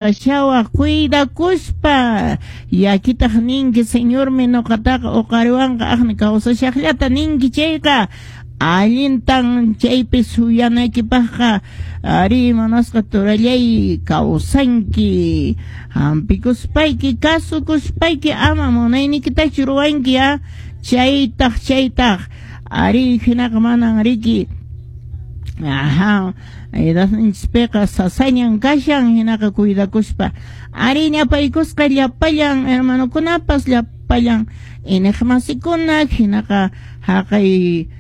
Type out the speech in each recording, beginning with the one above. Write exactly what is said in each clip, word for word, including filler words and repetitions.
Shawaq cuidakuspa llakitaq ninki Señormi nuqataqa uqariwanqa aqni kawsashaqllata ninki chayqa allintan chaypi suyanaykipaqqa ari munasqa turallay kawsanki hampikuspayki kasukuspayki ama munaynikitachu ruwanki ya chaytaq chaytaq ari hinaqa manan riki. Ajá, edadninchispiqa sasañan kashan hinaqa cuidakuspa ari ñapaykusqa llapallan hermanokunapas llapallan iñiqmasikuna hinaqa haqay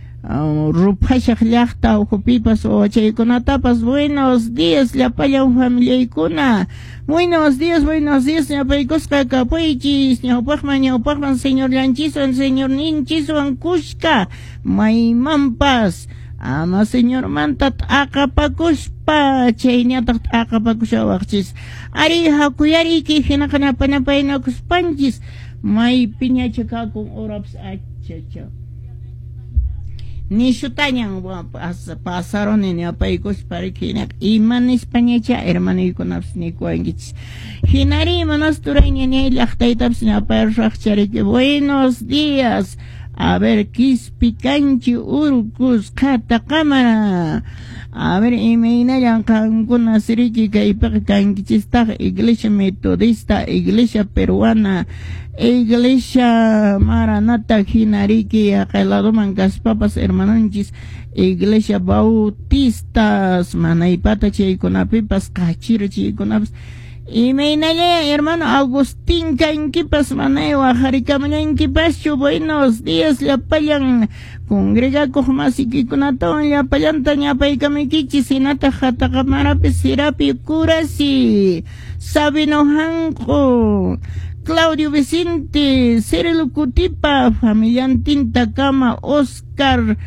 ruphashaq llaqta ukhupipas wawachaykunatapas buenos días llapallan familiaykuna buenos días buenos días ñapaykusqa kapuychis ñawpaqman ñawpaqman señorllanchiswan señorninchiswan kushka maymanpas ama señormanta t'aqapakuspa chayñataq t'aqapakushawaqchis ari hakuyariyki hinaqa napanapaynakuspanchis maypiñacha kakun horapas achacha nishutañan pasaruni ñapaykuspa riki hinaqa ima nispañacha hermanuykunapas nikuwankichis hinari manas turay ñañay llaqtaytapas ñapayarusaqcha riki buenos días. A ver, Quispicanchi, Urcus, Qataqamara. A ver, imaynallan qankuna siriki kaypiqa kankichistaq Iglesia Metodista, Iglesia Peruana, Iglesia Maranata hinariki haqay ladoman kaspapas hermanonchis Iglesia Bautistas, manaypata chaykunapipas, qachira chaykunapas. Imaynalla hermano Agustín kankipas manay waqharikamullankipaschu buenos días llapallan congregakuq masiykikunatawan llapallanta ñapaykamuykichis hinataq Qataqamarapi Sirapi Kurasi Sabino Hanqu Claudio Vicente Cirilo Cutipa familiantintakama Oscar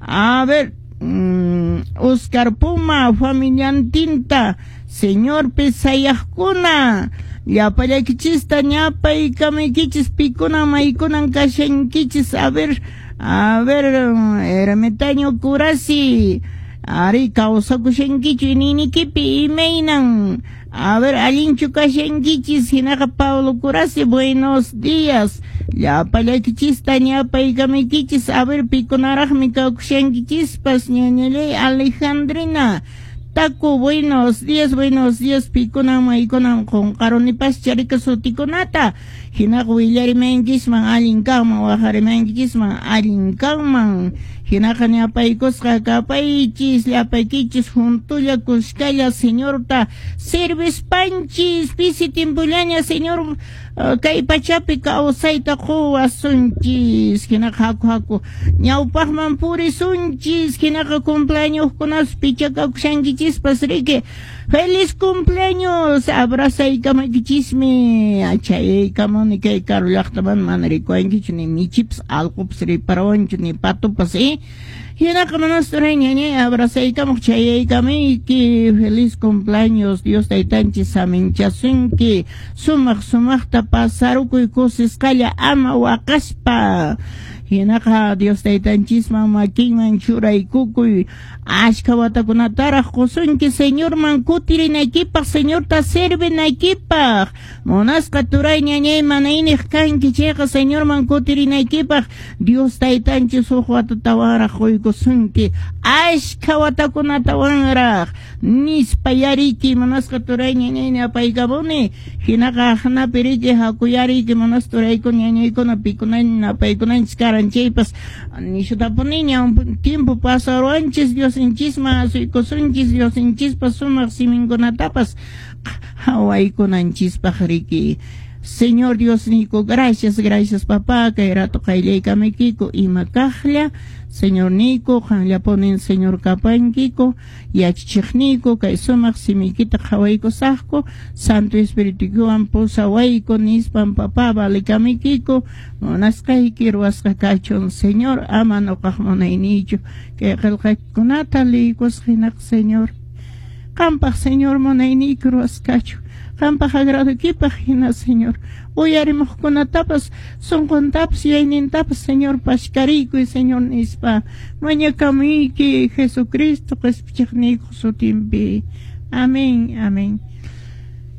a ver mm, Oscar Puma familiantinta Señor pesayaqkuna llapallaykichista ñapaykamaykichis pikuna maykunan kashankichis a ver a ver ermitaño Kurasi ari kawsakushankichu ininikipi imaynan a ver allinchu kashankichis hinaqa Pablo Kurasi buenos días llapallaykichista ñapaykamaykichis a ver pikunaraqmi kawkushankichispas ñañallay Alejandrina Taco, buenos días, buenos días, pikuna maykunan qunqarunipas charika sutikunata hinaqa willarimankisman allin kanman waqarimankichisman allin kanman hinaqa ñapaykusqa kapaychis llapaykichis juntulla kuskalla señorta servispanchis pisi timpullaña señor uh, kay pachapi kawsayta quwasunchis hinaqa haku haku ñawpaqman purisunchis hinaqa cumpleañoskunas pichakakushankichispas riki feliz cumpleaños abrazaykamakichismi achaykamuni kay karu llaqtaman mana rikuwankichu ni michipas allqupas riparawanchu ni patupas eh hinaqa manas turay ñañay abrazaykamuq chayaykamayki feliz cumpleaños Dios taytanchis saminchasunki sumaq sumaqta pasarukuy kusisqalla ama waqaspa hinaqa Dios taytanchisman makinman churaykukuy ashka watakunataraq qusunki Señorman kutirinaykipaq Señorta servinaykipaq munasqa turay ñañay manayniq kanki chayqa Señorman kutirinaykipaq Dios taytanchis huk watatawanraq quykusunki ashka watakunatawanraq nispa yariki munasqa turay ñañay napaykamuni hinaqa aqnapi riki hakuyariki munasqa turaykuna ñañaykuna pikunaña napaykunanchis karan chaypas nishutapuniña tiempo pasaruanchis Diosinchisman asuykusunchis Diosinchispas sumaq siminkunatapas qhawaykunanchispaq riki Señor Dios nico gracias gracias papá kay rato qayllaykamuykiku ima kaqlla Señor nico qanllapunin Señor kapankiko yachachiqniyku kay sumaq simiykita qhawaykusaqku Santo Espirituwan pusawayku nispan papá valikamuykiku munasqayki ruwasqa kachun Señor ama nuqaq munayniychu kay qillqaykunata liykusqa hinaqa Señor qampaq Señor munayniyki ruwasqa qampaq agradoykipaq hina Señor uyarimuqkunatapas sunquntapas yuyaynintapas Señor pashkariykuy Señor nispa mañakamuyki Jesucristo qispichiqniykuq sutinpi. Amén, amén.